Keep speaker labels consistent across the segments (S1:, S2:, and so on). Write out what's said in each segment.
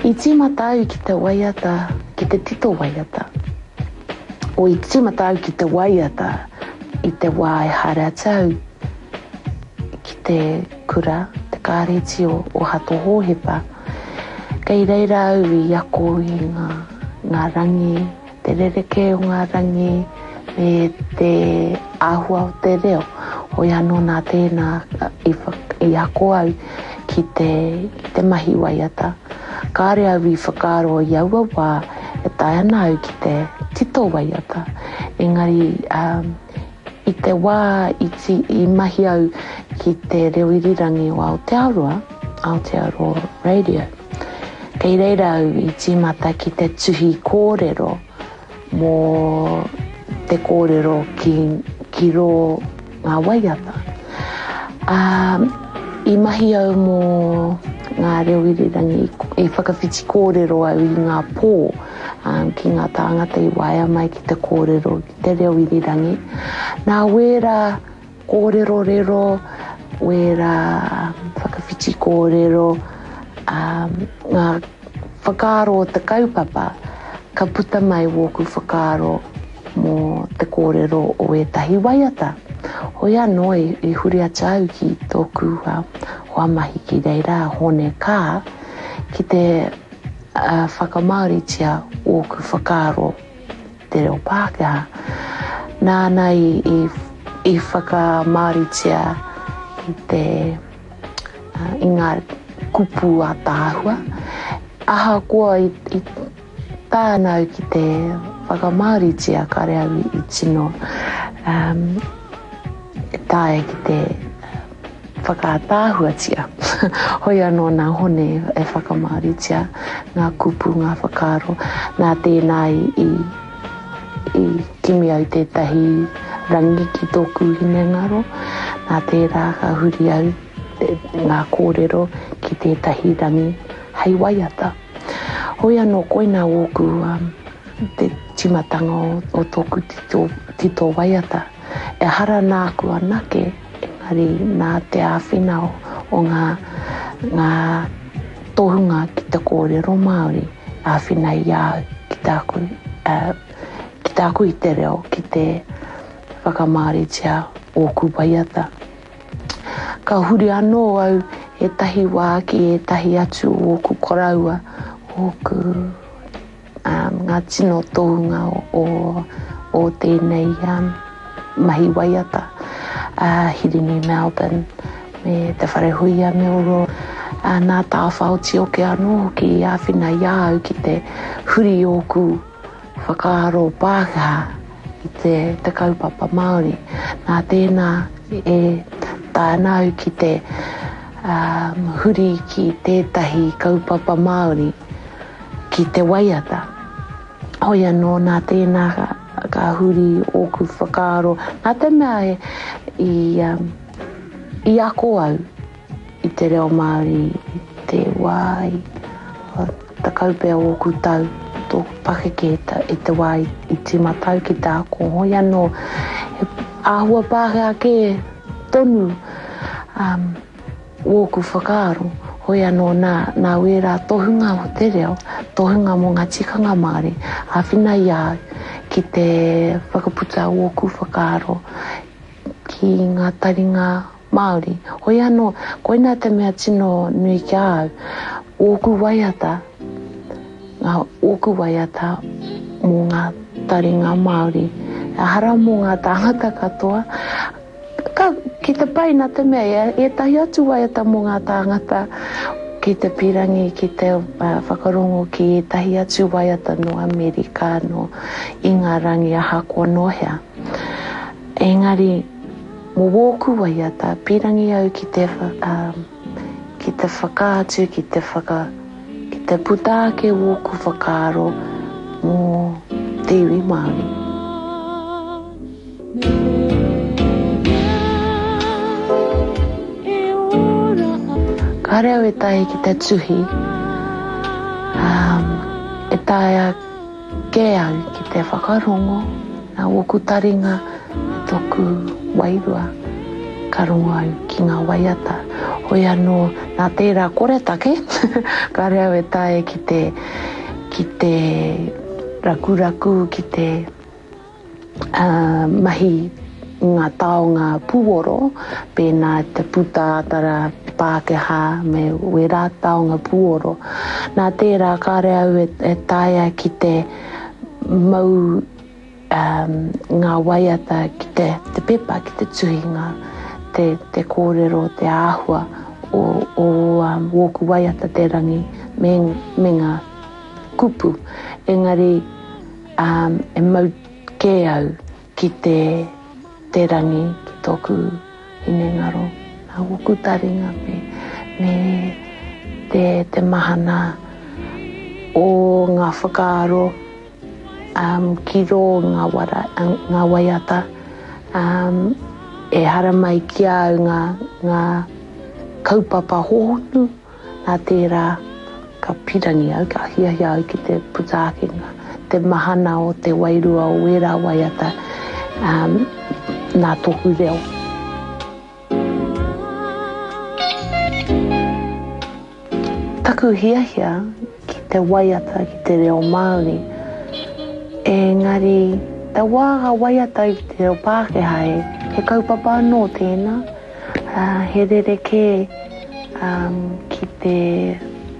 S1: I tīmata au ki te waiata, ki te tito waiata. O i tīmata au ki te waiata i te wā e haere atu au ki te kura, te kāreti o, o Hato Hōhepa. Kei reira au i ako i ngā, ngā rangi, te rerekē o ngā rangi me te āhua o te reo. Hoi anō nā tēnā i, i ako au ki te, ki te mahi waiata. Kāre au i whakaaro i aua wā e taea ana au ki te tito waiata. Engari um, i te wā i, ti, i mahi au ki te reo irirangi o Aotearoa, Aotearoa Radio, kei reira au i tīmata ki te tuhi kōrero mō te kōrero ki, ki rō ngā waiata. Ā, i mahi au mō ngā reo irirangi, i whakawhiti kōrero au i ngā pō ki ngā tāngata i waea mai ki te kōrero ki te reo irirangi. Nā wērā kōrerorero, wērā whakawhiti kōrero, ngā whakaaro o te kaupapa, ka puta mai wōku whakaaro mō te kōrero o ētahi waiata. Hoi anō i huri atu au ki tōku hoa mahi ki reira, a Hōne Kaa, ki te whakamāoritia ōku whakaaro te reo Pākehā. Nāna i whakamāoritia i te i ngā kupu ātaahua. Ahakoa i taea au ki te whakamāoritia, kāre au i tino taea ki te whakaataahuatia. Hoi anō nā Hone e whakamāoritia ngā kupu, ngā whakaaro. Nā tēnā i, i kimi au tētahi rangi ki tōku hinengaro. Nā tērā ka huri au ngā kōrero ki tētahi rangi hei waiata. Hoi anō koinā ōku te tīmatanga o tōku tito, tito waiata. Ehara nāku anake, engari nā te āwhina o ngā, ngā tohunga ki te kōrero Māori, āwhina i a au ki tāku, ki tāku i te reo, ki te whakamāoritia ōku waiata. Ka huri anō au ētahi wā ki ētahi atu o ōku koroua, ōku ngā tino tohunga o, o tēnei mahi waiata, a Hirini Melbourne me Te Wharehuia Milroy. Nā Tāwhao Tioke anō hoki i āwhina i a au ki te huri ōku whakaaro Pākehā i te, te kaupapa Māori. Nā tēnā e taea ana au ki te um, huri ki tētahi kaupapa Māori ki te waiata. Hoi anō, nā tēnā ka, ka huri ōku whakaaro, nā te mea e, i, um, i ako au i te reo Māori i te wā i tekau pea ōku tau, tōku pakeke i te wā i tīmata au ki te ako. Hoi anō, he āhua Pākehā kē tonu um, Wōku whakaaro, hoi anō nā, nā wērā tohunga o te reo, tohunga mō ngā tikanga Māori, āwhina i a au ki te whakaputa wōku whakaaro ki ngā taringa Māori. Hoi anō, koinā te mea tino nui ki a au, wōku waiata, ngā ōku waiata mō ngā taringa Māori. Ehara mō ngā tāngata katoa, Ka, ki te pai nā te mea e ētahi atu waiata mō ngā tāngata ki te pīrangi ki te whakarongo ki ētahi atu waiata nō Amerika, nō Ingarangi ahakoa nō hea. Engari, mō wōku waiata, pīrangi au ki te, ki te whakaatu, ki te whaka, ki te puta ake wōku whakaaro mō te iwi Māori. Kāre au e taea ki te tuhi, e taea kē au ki te whakarongo nā ōku taringa me tōku wairua ka rongo au ki ngā waiata. Hoi anō, nā tērā koretake, kāre au e taea ki te, ki te rakuraku, ki te mahi i ngā taonga pūoro, pēnā i te pūtātara Pākehā me wērā taonga pūoro. Nā tērā kāre au e taea ki te mau ngā waiata ki te, te pepa, ki te tuhi ngā, te, te kōrero, te āhua o, o um, wōku waiata te rangi me, me ngā kupu. Engari um, e mau kē au ki te, te rangi, ki tōku hinengaro, nā wōku taringa me, me te, te mahana o ngā whakaaro um, ki rō ngā, wara, ngā waiata. Um, e haramai ki a au ngā, ngā kaupapa hōhonu, nā tērā ka pirangi au, ka hiahia au ki te puta ake ngā, te mahana o te wairua o wērā waiata um, nā tōku reo. Taku hiahia ki te waiata ki te reo Māori, engari te wā ka waiata i te reo Pākehā e, he kaupapa anō tēnā, he rerekē ki te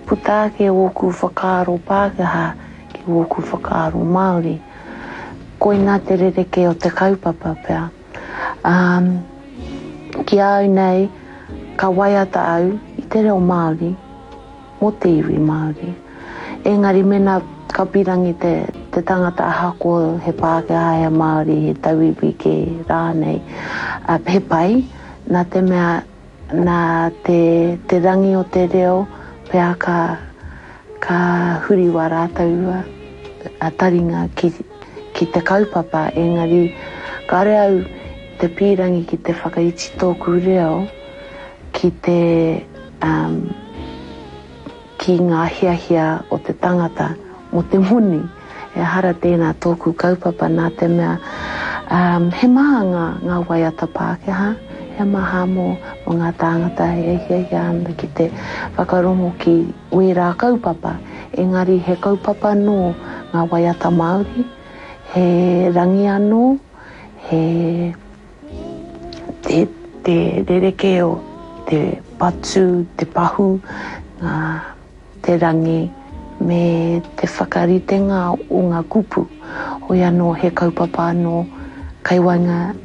S1: puta ake ōku whakaaro Pākehā ki ōku whakaaro Māori. Koinā te rerekē o te kaupapa pea. Um, ki a au nei, ka waiata au i te reo Māori, mō te iwi Māori. Engari mena ka pirangi te, te tangata ahakoa he Pākehā, he Māori, he tauiwi kē rānei, uh, he pai, nā te mea nā te, te rangi o te reo pea ka, ka huri wā rātou a taringa ki, ki te kaupapa, engari kāre au te pīrangi ki te whakaiti tōku reo ki te um, ki ngā hiahia o te tangata mō te moni. Ehara tēnā tōku kaupapa nā te mea um, he maha ngā, ngā waiata Pākehā, he maha mō, mō ngā tāngata e hiahia ana ki te whakarongo ki wērā kaupapa, engari he kaupapa nō ngā waiata Māori, he rangi anō, he te, te rerekē o te patu, te pahu, ngā, te rangi, me te whakaritenga o ngā kupu. Hoi anō, he kaupapa anō kai waenga.